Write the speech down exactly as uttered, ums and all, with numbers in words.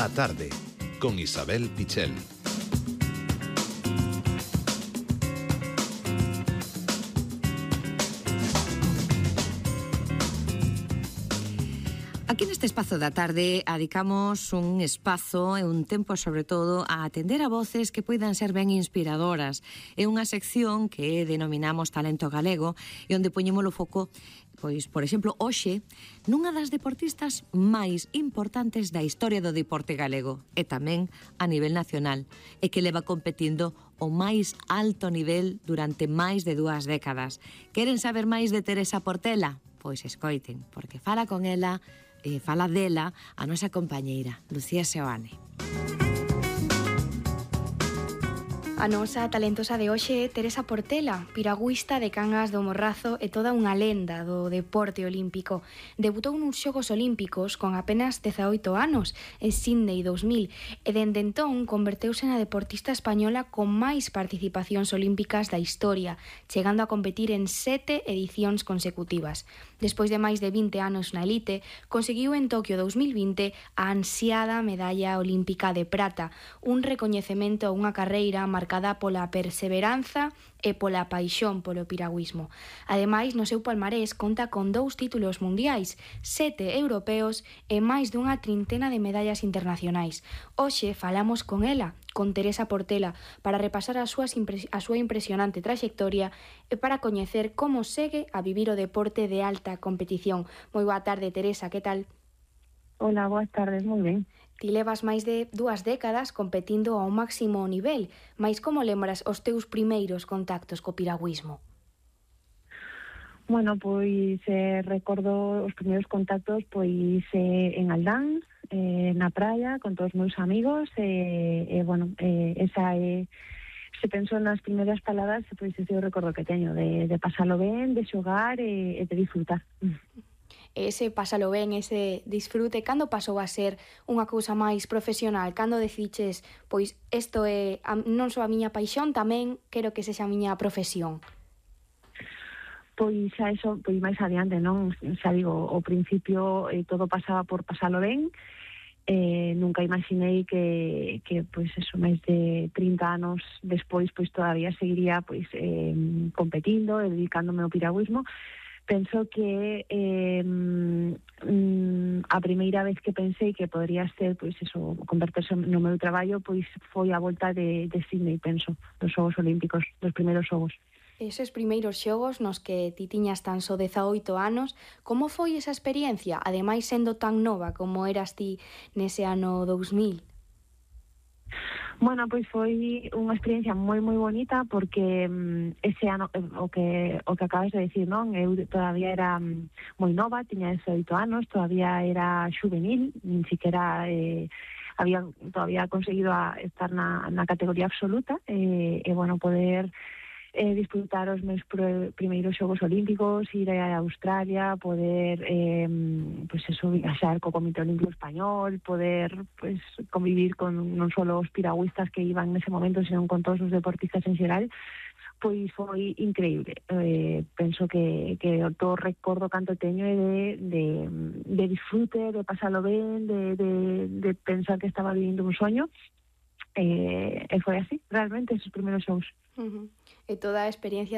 A tarde, con Isabel Pichel. Aquí neste espazo da tarde adicamos un espazo e un tempo sobre todo a atender a voces que poidan ser ben inspiradoras. É unha sección que denominamos Talento Galego e onde poñemos o foco, pois, por exemplo, hoxe, nunha das deportistas máis importantes da historia do deporte galego e tamén a nivel nacional e que leva competindo o máis alto nivel durante máis de dúas décadas. Queren saber máis de Teresa Portela? Pois escoiten, porque fala con ela e fala dela a nosa compañeira, Lucía Seoane. A nosa talentosa de hoxe é Teresa Portela, piragüista de Cangas do Morrazo e toda unha lenda do deporte olímpico. Debutou nos Xogos Olímpicos con apenas dezaoito anos, en Sydney dous mil, e dende entón converteuse na deportista española con máis participacións olímpicas da historia, chegando a competir en sete edicións consecutivas. Despois de máis de vinte anos na elite, conseguiu en Tokio dous mil vinte a ansiada medalla olímpica de prata, un recoñecemento a unha carreira marcada pola perseveranza e pola paixón polo piragüismo. Ademais, no seu palmarés conta con dous títulos mundiais, sete europeos e máis dunha trintena de medallas internacionais. Hoxe falamos con ela, con Teresa Portela, para repasar a, súas impres- a súa impresionante traxectoria e para coñecer como segue a vivir o deporte de alta competición. Moi boa tarde, Teresa, que tal? Hola, boas tardes, moi ben. Ti levas máis de dúas décadas competindo ao máximo nivel, mais como lembras os teus primeiros contactos co piragüismo? Bueno, pois eh, recordo os primeiros contactos pois eh, en Aldán, eh, na praia, con todos os meus amigos, e eh, eh, bueno, eh, esa é, eh, se penso nas primeiras palabras, pois ese é o recordo que teño, de, de pasalo ben, de xogar e, e de disfrutar. Ese pásalo ben, ese disfrute, cando pasou a ser unha cousa máis profesional? Cando deciches, pois, isto é a, non só a miña paixón, tamén quero que sexa a miña profesión? Pois a eso, pois máis adiante, non? Xa digo, ao principio eh, todo pasaba por pasalo ben, eh, nunca imaginei que, que pois eso, máis de trinta anos despois, pois todavía seguiría pois eh, competindo e dedicándome ao piragüismo. Penso que eh, mm, a primeira vez que pensei que podría ser, pois eso, converterse no meu traballo, pois foi a volta de, de Sydney, penso, dos Xogos Olímpicos, dos primeiros xogos. Eses primeiros xogos nos que ti tiñas tan só dezaoito anos, como foi esa experiencia, ademais sendo tan nova como eras ti nese ano dous mil? Bueno, pois foi unha experiencia moi moi bonita porque um, ese ano, o que o que acabas de decir, non? Eu todavía era um, moi nova, tiña dezaoito anos, todavía era xuvenil, nin siquiera eh, había todavía conseguido a estar na, na categoría absoluta e, e bueno, poder eh, disfrutar os meus pr- primeiros Xogos Olímpicos, ir a Australia, poder eh, pues eso, viaxar co Comité Olímpico Español, poder pues convivir con non só os piragüistas que iban nese momento, senón con todos os deportistas en xeral, pois foi increíble. Eh, penso que, que todo recordo canto teño é de, de, de disfrute, de pasalo ben, de, de, de pensar que estaba vivindo un soño. Eh, e foi así, realmente, esos primeiros xogos. Uh-huh. E toda a experiencia